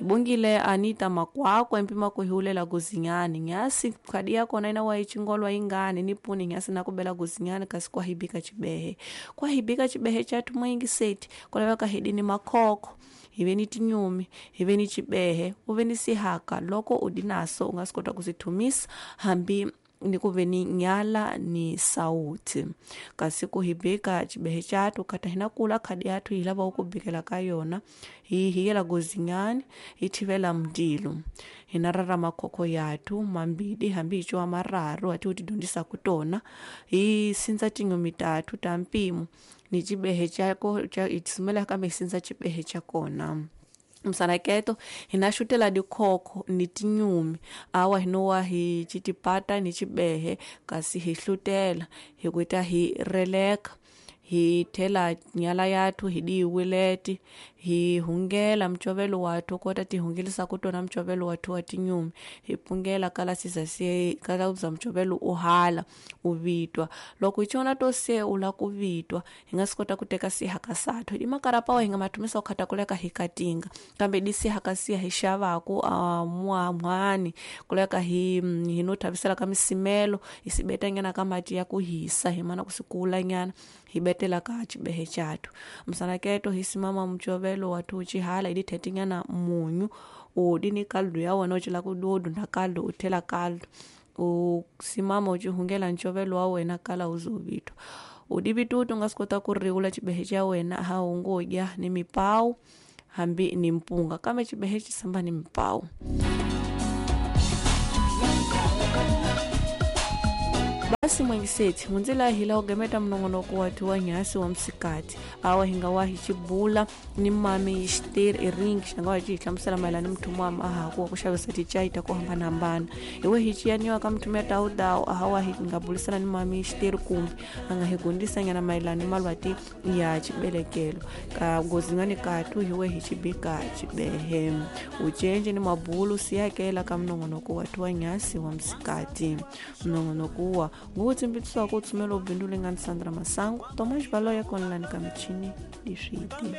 Hi bongile Anita Makwakwa empima ku hi hulela guzinyani nyasi khadi ya kona ina wa yi chingolwa ingani ni puni nyasi na kubela guzinyani kasi kwa hibika chibehe kwa hibika chibehe chatu mwingi seti kulaveka hidini makhokho hi ve ni tinyumi hi ve ni chibehe u ve ni sihaka loko u di naso u nga swi kota ku swi thumisa hambi ni ku ve ni nyala ni sawuti kasi ku hi bika chibehe chatu kata hina kula khadi yathu hi lava ku bikela ka yona hi hiyela gozinyani hi thivela mundilo hina rara makhokho yathu mambili hambi hi ciwa mararu hati u ti dyondzisaku tona hi sindza tinyumi tathu ta mpimo ni chibehe chako cha hi sumela kambe hi sindza chibehe cha kona msanaketo hina xutela dikhokho ni tinyumi awa hinowa hi citipata ni chibehe kasi hi hlutela hi kuita hi releka hi thela nyala yathu hi diyiwileti hi hungela mcovelo wathu kota ti hungelisa ku tona mcovelo wathu wa tinyumi hi pungela kala siza se kala uza mcovelo u hala u vitwa loko hi cona to se u la ku vitwa hi nga swi kota ku teka sihaka sathu hi makarapawa hi nga mathumisa ku khata kuleka hi katinga kambe di sihaka siya hi xavaku mwani kuleka hi hi no thavisela ka misimelo hi sibeta nyana ka mati ya ku hisa hi mana ku sikula nyana hi betela ka chibehe chathu msanaketo hi simama mcovelo wathu uchihala idi thetinyana munyu udi ni kaldu ya wena ucila kududunda kaldu uthela kaldu usimama uchihungela ncovelo wa wena kala uzovitwa udivitutu unga swi kota ku riwula chibehe cha wena ha ungodya ni mipawu hambi ni mpunga kambe chibehe chisamba ni mipawu. Basi mwengiseti munzila hila ugemeta mnongonoko watu wa nyasi wa msikati awa hinga wahi chibula ni mami ishter iringi xanga wa cihlamusela mayelana ni mthumu wa mahaku wa ku xavisa ticayi ta ku hambanahambana iwe hi ciyaniwa ka mthumu ya tawudawu ahawa hi nga bulisana ni mami ishter kumbe a nga hi gundisanyana mayelana ni malwati ya chibelekelo ka ngozingani katu hiwe hi chibika chibehe ucenje ni mabulu siyakela ka mnongonoko watu wa nyasi wa msikati mnongonoko wa ngukutsimbitisiwa ku tsumela ubindzu leyi nga ni Sandra Masangu Tomas Valoya konlani ka michini leswiti.